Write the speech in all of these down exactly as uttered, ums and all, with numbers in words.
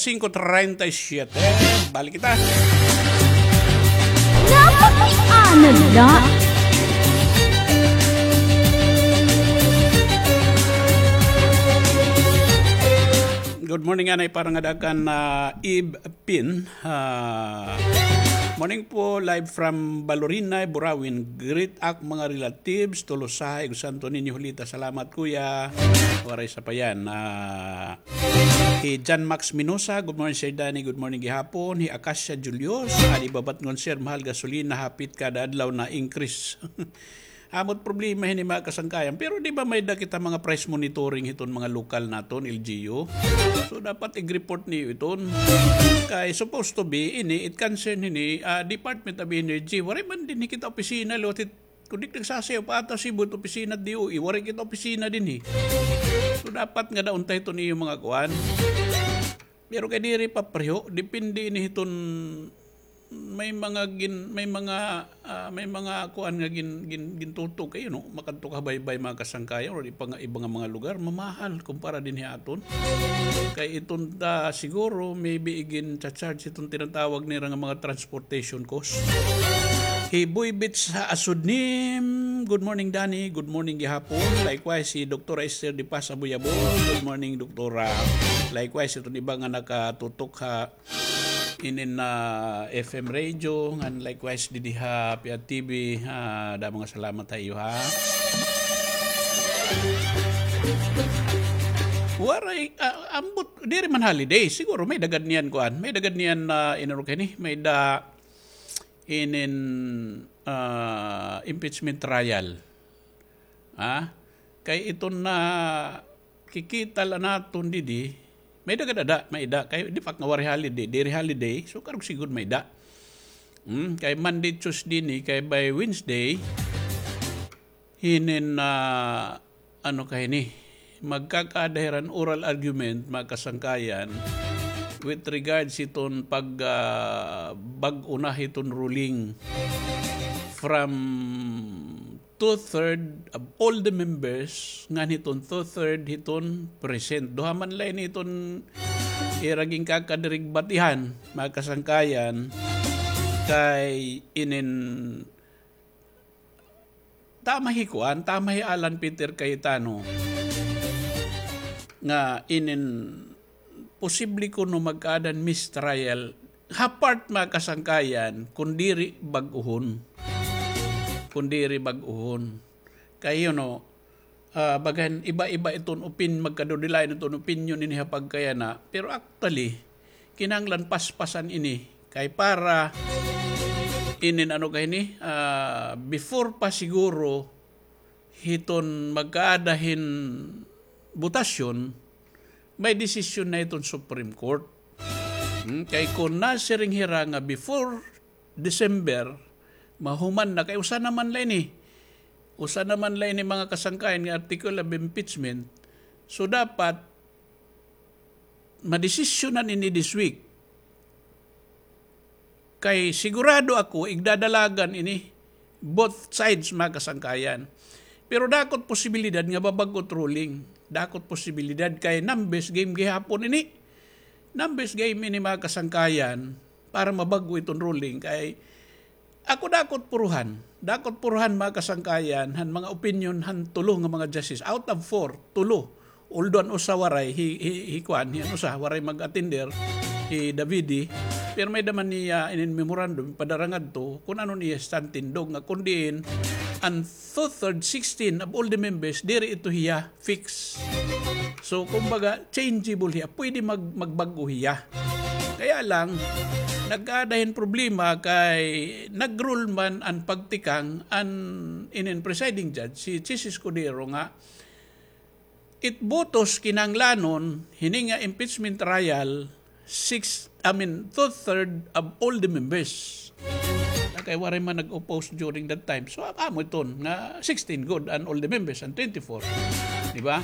Singko treinta y siete. Balik kita. Napakaianad na. Good morning, anay, para ngada kan, ah, Eve Pin. Ah, morning po, live from Balorinay, Burawin. Greet ak mga relatives, Tolosahay, ug Santo Niño, Julita. Salamat, kuya. Waray sapayan. Ah, Hi John Max Minosa, good morning, Sir Danny. Good morning gihapon. Hi Acacia Julius, adi babatngon, sir, mahal gasolina, hapit kada adlaw na increase. Amo it problema hini, mga kasangkayan. Pero di ba may-ada kita mga price monitoring hiton mga lokal naton, L G U? So, dapat ig-report niyo iton. Kay supposed to be, ini, it concern hini, ah, Department of Energy. Waray man dinhi kita opisina, liwat hit Kundi nagsasayaw pa ata Cebu it opisina D O E, waray kita opisina dinhi. So, dapat ngada unta hiton iyo mga kuan. Pero kay diri pa pareho, depende ini hiton may mga gin-, may mga, ah, may mga kuan nga gin-, gin-, gintutok kay, you know, makadto ka baybay mga kasangkayan or iba nga, iba nga mga lugar, mamahal kumpara dinhi aton. Kay iton ta siguro, maybe igin-charge iton tinatawag nira nga mga transportation cost. Hi Boy Bits ha Asudnim. Good morning, Danny. Good morning gihapon. Likewise, si Doktora Esther de Paz Abuyabon. Good morning, Doktora. Likewise, iton iba nga nakatutok ha inin, ah, F M radio, ngan likewise didi ha Piat T V, ah, damo nga salamat ha iyo, ha. Waray, ah, ambot, diri man holiday, siguro may-ada gad niyan kuan, may-ada gad niyan, ah, inurok ini, may-ada inin, ah, impeachment trial. Ha? Kay iton nakikita la naton didi, may-ada gad ada, may-ada. Kay di pa nga waray holiday, diri holiday, so karuyag siguro may-ada. Hmm, kay Monday, Tuesday ni, kay by Wednesday, hinin, ah, ano ka hini, magkakaada hira hin oral argument, mga kasangkayan, with regards hiton pag, ah, bag-o na hiton ruling from two-third of all the members, ngan hiton two-third hiton present. Duha man la ini hiton ira ginkakadirigbatihan, mga kasangkayan, kay inin tama hi kuan, tama hi Alan Peter Cayetano nga inin posible kuno magkaada hin mistrial ha part, mga kasangkayan, kun diri bag-ohon. Kun diri bag-ohon. Kay, you know, ah, bagan iba-iba iton opin-, magkadudilain iton opinyon ini ha pagkayana. Pero actually, kinahanglan paspasan ini. Kay para inin ano ka hini, ah, before pa siguro hiton magkaada hin botasyon, may desisyon na iton Supreme Court. Hmm, kay kun nasiring hira nga before December, mahuman na kay usa naman la ini. Usa naman la ini, mga kasangkayan, nga article of impeachment. So, dapat madesisyonan ini this week. Kay sigurado ako, igdadalagan ini both sides, mga kasangkayan. Pero dako it posibilidad nga mabag-o it ruling. Dako it posibilidad kay numbers game gihapon ini. Numbers game ini, mga kasangkayan, para mabag-o iton ruling. Kay ako dako it puruhan. Dako it puruhan, mga kasangkayan, han mga opinyon han tulo nga mga justice. Out of four, tulo. Although an usa waray, hi, hi, hi kuan, hi an usa waray mag-attender, hi Davide. Pero may-ada man niya inin memorandum, padara ngadto, kun ano niya stand tindog nga kun diin, an two-third, sixteen of all the members, diri ito hiya fix. So, kumbaga, changeable hiya. Pwede mag-, magbag-o hiya. Kaya lang, nagkaada hin problema kay nag-rule man an pagtikang an inin presiding judge, si Chiz Escudero nga, it botos kinahanglanon hini nga impeachment trial, six, I mean, two-third of all the members. Na kay waray man nag-oppose during that time. So, amo iton nga sixteen gud an all the members, an twenty-four. Di ba?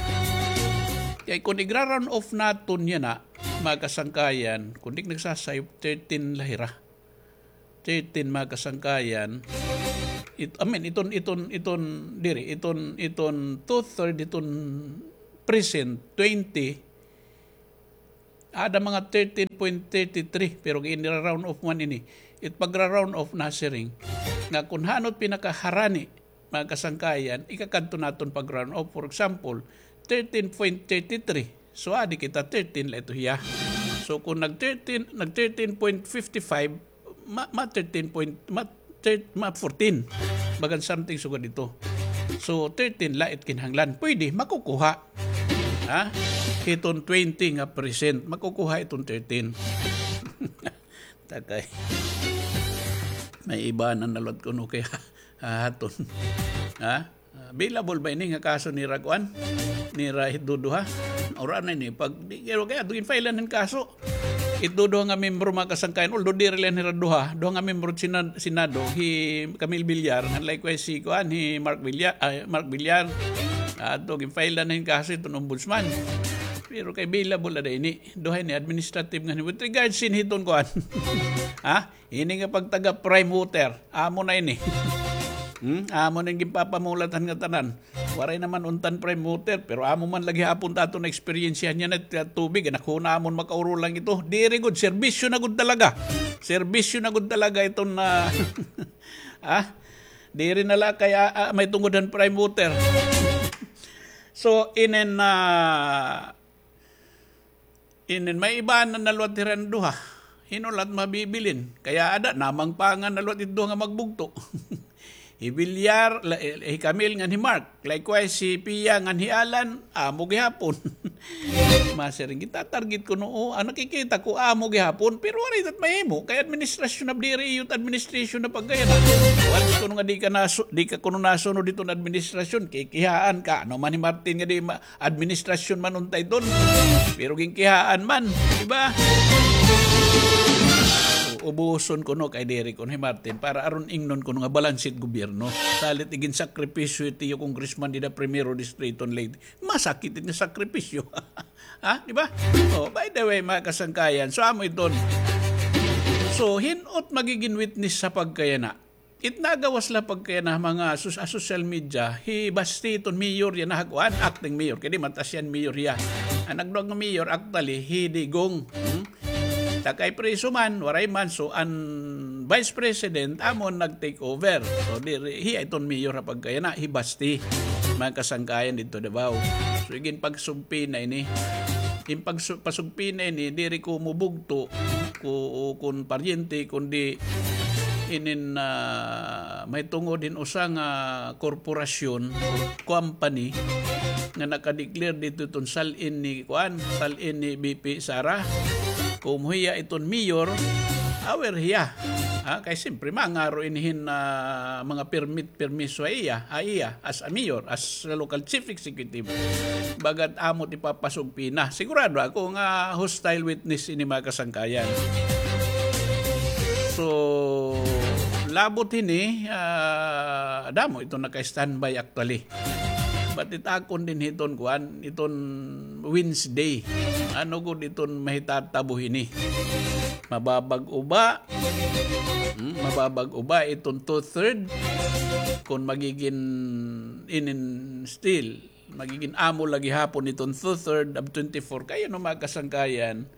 Kay kun igra-round off naton yana, mga kasangkayan, kun di nagsasayo, thirteen la hira. Thirteen, mga kasangkayan. It, I mean, iton, iton, iton, diri, iton, iton two-third, iton present, twenty, Ada mga thirteen point thirty three, pero ginira-round off man ini. It pagra-round off nasiring nga kun hanot pinakaharani, mga kasangkayan, ikakadto naton pag-round off. For example, thirteen point thirty three. So, adi kita, thirteen la ito hiya. So, kung nag-thirteen, nag-thirteen point fifty five, ma, ma thirteen point, ma, thir, ma fourteen. Bagan something sugad ito. So, thirteen la it kinahanglan. Pwede, makukuha. Ha? Hiton twenty nga percent. Makukuha iton thirteen. Takay. May iba na nalot kuno kay hahaton. Ha? Ah, available ba ini nga kaso nira kuan? Nira hit duduha? Ura na ini. Pag, di, kaya, kaya, ito ginfile-an hin kaso. Hit duduha nga membro, mga kasangkayan. Although diri la hira duha. Duha nga membro Senad, Senado. Hi Camille Villar. And likewise si kuan, hi Mark Villar. Ah, Mark Villar. Ato, ginfile-an hin kaso iton ombudsman. Pero kay available ada ini. Duha ini, administrative nga ni. With regards sin hiton kuan. Ha? Ini nga pagtaga prime water. Amo na ini. Hmm? Amo na ini ginpapamulat han ngatanan. Waray naman unta hin prime water, pero amo man la gihapon ta aton naeksperyensyahan yana nga tubig. Anak ho namon, makaurulang ito. Diri gud, serbisyo na gud talaga. Serbisyo na gud talaga iton na, ah, diri na la kay, ah, ah, may tungod han prime water. So, inin, ah, Inin, may iba na nalwat hira nga duha. Hin-o la it mabibilin? Kay ada, namangpangan na liwat it duha nga magbugto. Hi Villar, la, eh, hi Camille ngan hi Mark. Likewise, hi Pia ngan hi Alan, amo gihapon. Masiring, gitatarget kuno, o, an nakikita ko, amo gihapon. Pero waray it mahimo. Kay administrasyon na, diri iyo it administrasyon na pagkaya na. Waray kuno nga di ka nasu-, di ka kuno nasunod iton administrasyon. Kikihaan ka. Ano man hi Martin nga di ma-, administrasyon man unta iton. Pero ginkihaan man, di ba? Ubuson kuno kay diri kuno hi Martin para aron ingnon kuno nga balanse it gobyerno. Salit iginsakripisyo it iyo congressman dida Primero Distrito Leyte. Masakit it nga sakripisyo. Ha? Di ba? Oh, by the way, mga kasangkayan, so amo iton. So, hin-o it magigin witness sa pagkayana? It nagawas la pagkayana mga sus-, ah, social media, hi Basti iton mayor yana ha kuan, acting mayor. Kay di man ta siya mayor hiya. An nagduha nga mayor, actually, hi Digong. Hmm? Takay preso man, waray man. So, an vice president, amo an nag-take over. So, di, hiya iton mayor ha pagkayana, hi Basti. Mga kasangkayan didto Davao. So, igin pagsugpina ini. In pagsu-, pasugpina ini, diri ko mubugto ko, o kun paryente, kundi inin, ah, mahitungod hin usa nga korporasyon or company nga naka-declare didto iton sal-in ni, kuan, sal-in ni V P Sara. Kung hiya iton mayor, aware hiya. Ha? Kay siyempre, mangaro ini hin, ah, mga permit, permiso ha iya, ha iya, as a mayor, as a local chief executive. Bagat amo it ipapasugpina. Sigurado ako nga hostile witness ini, mga kasangkayan. So, labot hini, ah, damo iton naka-standby actually. But it akon dinhi iton kuan, iton Wednesday. Ano gud iton mahitatabo hini? Mababag-o ba? Hmm, mababag-o ba iton two-third? Kun magigin inin still, magigin amo la gihapon iton two-third of twenty-four. Kay ano, mga kasangkayan,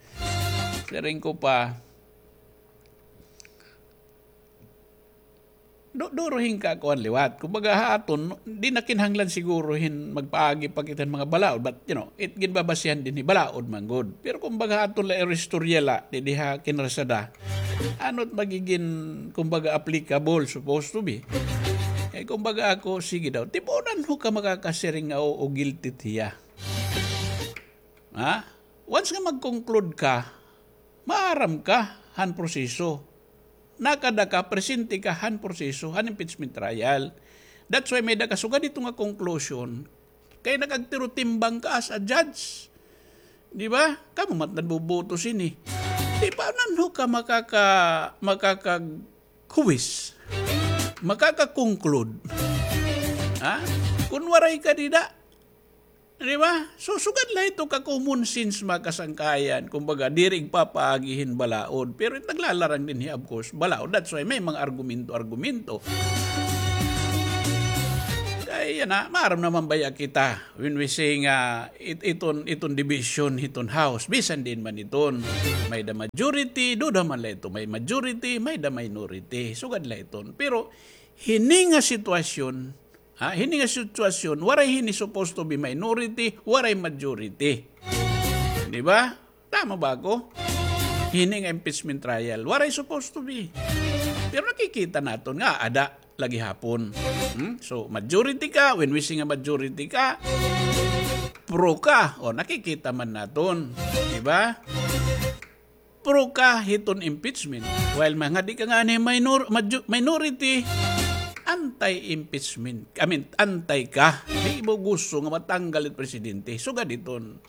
siring ko pa, du-, duro hin kakuan liwat. Kumbaga, ha aton, di na kinahanglan siguro hin magpaagi pa kita hin mga balaod. But, you know, it ginbabasihan dinhi, balaod man gud. Pero kumbaga, ha aton la iristorya la, didi ha Kinrasada. Ano it magigin, kumbaga, applicable, supposed to be? Eh, kumbaga ako, sige daw, tibunan ho ka makakasiring nga, oo, guilty hiya. Ha? Once nga mag-conclude ka, maaram ka han proseso. Nakada ka, presente ka han proseso, han impeachment trial. That's why may-ada ka sugad hito nga conclusion. Kay nag-agtirotimbang ka as a judge. Di ba? Kamo man nagboboto sini. Di ba, paano ka makaka-, makakaghuwis? Makaka-conclude? Ha? Kun waray ka dida, Di ba? So, sugad la ito ka common sense, mga kasangkayan. Kumbaga, diri igpapaagi hin balaod. Pero it naglalarang dinhi, of course, balaod. That's why may mga argumento-argumento. Kay, Yana, maaram naman baya kita, when we say nga, it-, iton, iton division hiton House, bisan diin man iton. May-da majority, duda man la ito, may majority, may-da minority. Sugad la iton. Pero, hini nga sitwasyon, ha, hini nga sitwasyon, waray hini supposed to be minority, waray majority. Di ba? Tama ba ako? Hini nga impeachment trial, waray supposed to be. Pero nakikita naton nga, ada la gihapon. Hmm? So, majority ka, when we say nga majority ka, pro ka. O, nakikita man naton. Di ba? Pro ka hiton impeachment. While mga di ka ngani minor-, maju-, minority, anti-impeachment. I mean, anti ka. Di mo gusto nga matanggal it presidente. Sugad iton.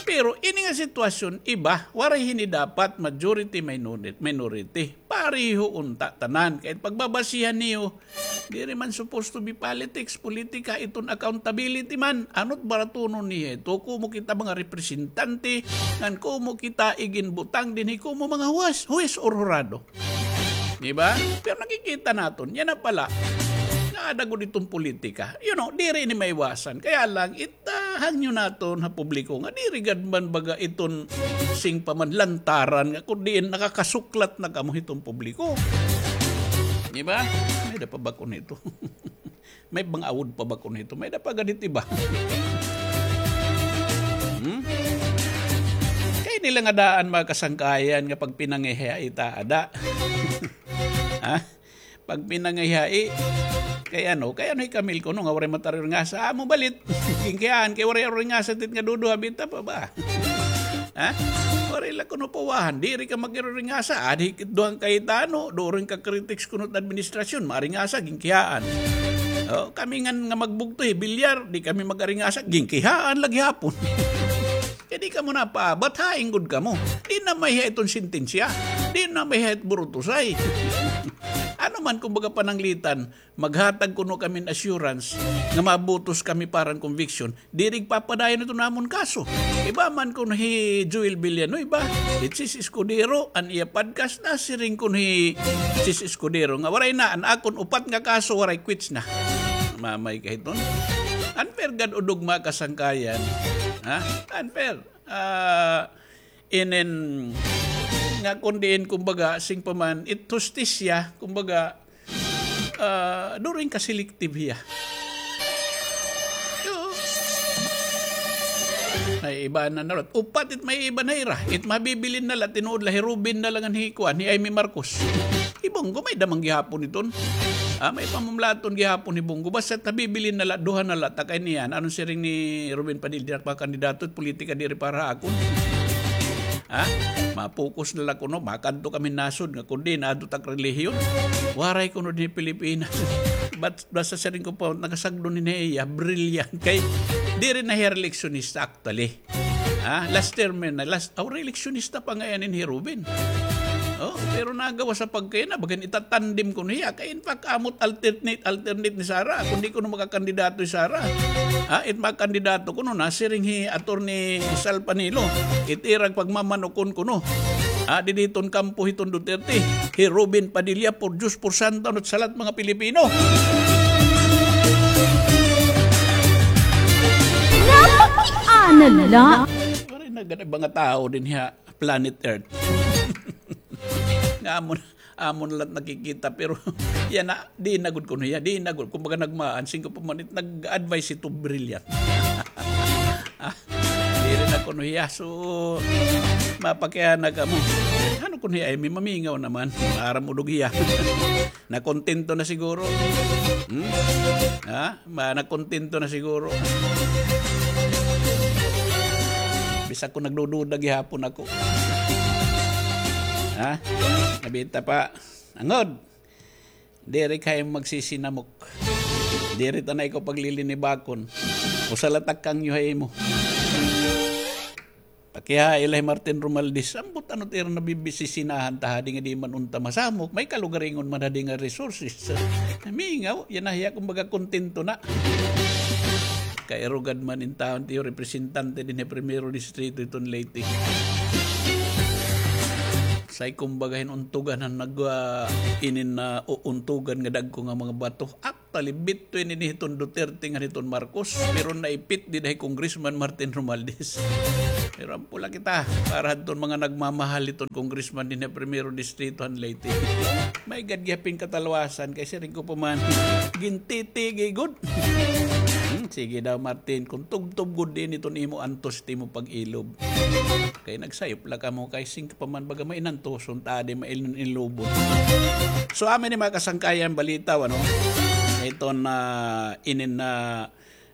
Pero ini nga sitwasyon, iba, waray hini dapat majority, minori-, minority. Pareho unta tanan. Kay pagbabasihan niyo, diri man supposed to be politics, politika, iton accountability man. Ano't baratunon niya ito, kumo kita mga representante, ngan kumo kita iginbutang dinhi kumo mga huwes, huwes or hurado. Di ba? Pero nakikita naton, yana pala, nga ada gud iton politika. You know, diri ini maiwasan. Kaya lang, it-, ah, hangyo naton ha publiko nga diri gad man baga iton sing pa man lantaran nga kun diin nakakasuklat na kamo hiton publiko. Di ba? May-da pa ba kuno ito? May bang awod pa ba kuno ito? May-da pa gad it iba. Hmm? Kay nila nga daan mga kasangkayan nga pagpinangiha ita ada. Ha? Pagpinangihai, kay ano, kay ano hi Camille kuno nga waray mataringasa, amo balit. Ginkihaan, kay waray ringasa tit nga duduha, bita pa ba? Ha? Waray la kuno pawahan, diri ka magiriringasa, adi kit duhang kay tano, during ka critics kuno administrasyon, maringasa, ginkihaan. O, kami ngan nga magbugto, hi Villar, di kami magaringasa, ginkihaan la gihapon. Kay di kamo napaabat, hain gud kamo. Di na maiha iton sentensya. Di na maiha it burutusay. Ano man, kumbaga, pananglitan, maghatag kuno kami hin assurance nga mabutos kami para hin conviction. Diri igpapadayon iton amon kaso. Iba man kuno hi Joel Villanueva, hi Chiz Escudero, an iya podcast nasiring kuno hi Chiz Escudero nga waray na, an akon upat nga kaso waray, quits na. Mamay ka hiton. Unfair gad udog, mga kasangkayan. Ha? Unfair. Ah, inin nga kun diin, kumbaga, sing pa man, it hustisya, kumbaga, ah, during ka selective hiya. Oo. Ay, iba na narot. Upat it may iba na hira. It mabibilin na la, tinuod la, hi Robin na la ngan hi kuan, hi Imee Marcos. Hi Bong Go, may-da man gihapon iton. Ah, may pamamulaton gihapon hi Bong Go. Basta tabibilin na la, duha na la, ta kay niyan. Ano siring ni Robin Padilla, diri ak makandidato, politika diri para ha akon. Ha? Ma-focus na la kuno, makadto kami nasod nga kundi naadto tak relihiyon. Waray kuno dinhi Pilipinas. But basta siring ko pa, nakasagdo ni niya, brilliant. Kay, diri na hiya eleksyonista actually. Ha? Last term na, last, aw, re-eleksyonista pa ngay-an hi Robin. O, pero nagawas sa pagkay na, bagan itatandem kuno hiya. Kay in fact, amo't alternate, alternate ni Sara. Kun di kuno makakandidato hi Sara. Ha? It makakandidato kuno, nasiring hi Attorney Sal Panelo. It ira pagmamanukon kuno. Ha? Didi hiton kampo hiton Duterte. Hi Robin Padilla, por Diyos, por santo, ano't sa lahat mga Pilipino. Napakiana la. Waray na gani mga tawo dinhi ha planet Earth. Nga amo na, amo na la it nakikita, pero yana, di na gud kuno hiya, di na gud. Kumbaga nagmaan, singko pa man it nag-advise ito, brilliant. Ah, diri na kuno hiya. So, mapakiana kamo. Ano kuno hiya, ay, may mamingaw naman. Maaram udog hiya. Nakontento na siguro. Hmm? Ha? Ma-, nakontento na siguro. Bisag ko nagdududa gihapon ako. Ha? Nabita pa. Angod. Diri kay magsisinamok. Diri ta na ikaw paglilinibakon. Usa la tak kangyo ha imo. Pakihaila hi Martin Romualdez. Ambot ano it ira nabibisisinahan ta hadi nga di man unta masamok. May kalugaringon man hadi nga resources. Mingaw, yana hiya kumbaga kontento na. Kairugad man in taon tiyo representante dinhi ha Primero Distrito hiton Leyte. Say kumbaga hin untugan han nag, ah, inin na uuntugan nga dagko nga mga bato. Ak- Talibit to ini hiton Duterte ngan hiton Marcos, pero naipit dida hi Congressman Martin Romualdez. Pero ampo la kita, para hadton mga nagmamahal hiton congressman dinhi ha Primero Distrito han Leyte. May gad gihapin katalwasan, kay siring ko pa man, gintiti gud. Hmm, sige daw, Martin, kung tubtob gud din iton imo antos, it imo pag-ilob. Kay nagsayop la kamo, kay sing pa man baga may inantuson ta, di mailin-ilubon. So, amin ni mga kasangkayan, balita, ano? Iton na inin na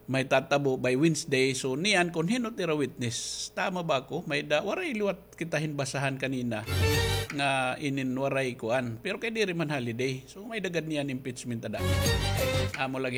may tatabo by Wednesday. So, niyan kung hin-o it ira witness. Tama ba ako? May da, waray liwat kita hin basahan kanina nga inin waray kuan. Pero kay diri man holiday. So, may da gad niyan impeachment ada. Amo la